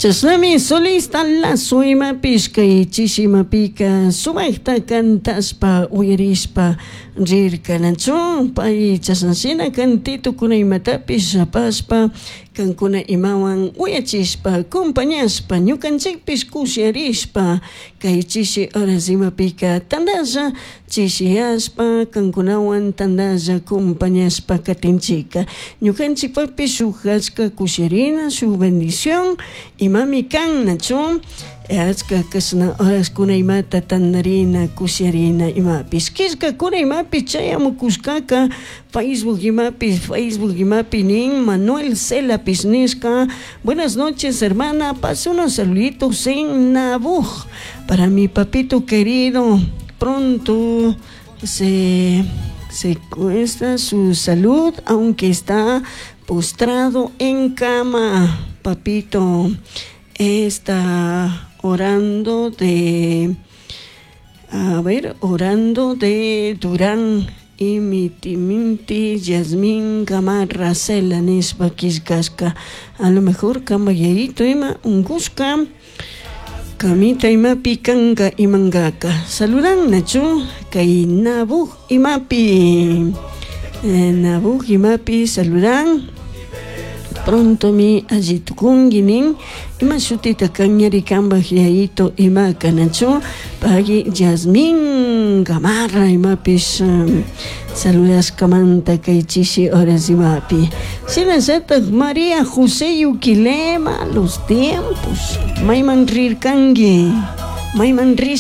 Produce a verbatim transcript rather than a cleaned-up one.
Chashnami solista Lazo imapish kay chishi imapika sumakta cantashpa uyarishpa rirka nachu pay chashnashina cantitokuna imatapish apashpa kankuna imawan uyachishpa acompañashpa ñukanchikpish kushiarishpa kay chishi horas imapika tandalla chishiyashpa kankunawan tandalla acompañashpa katinchika ñukanchikpapish shuk achka kushiarina shuk bendición imami kan nachu achka kashna horaskuna imata tandarina kushiarina imapish killkakuna imapish chayamukushkaka Facebook imapi Facebook imapi nin Manuel Celapish nishka buenas noches hermana pase unos saluditos en Nabuj para mi papito querido pronto se se cuesta su salud aunque está postrado en cama papito está orando de a ver orando de Durán y mi timinti Yasmín Gamarra Cela nishpa killkashka a lo mejor kamba yayito ima unkushka kamita imapi kanka imankaka saludan nachu kay Nabuj imapi eh, Nabuj imapi saludan pronto mi alli tukunki nin ima shutita kanñari kanpak yayito imaka nachu pagui Yasmín Gamarra imapish um, saludashkamanta kay chishi horas imapi shinallatak María José Yuquilema los tiempos mayman rirkanki mayman rish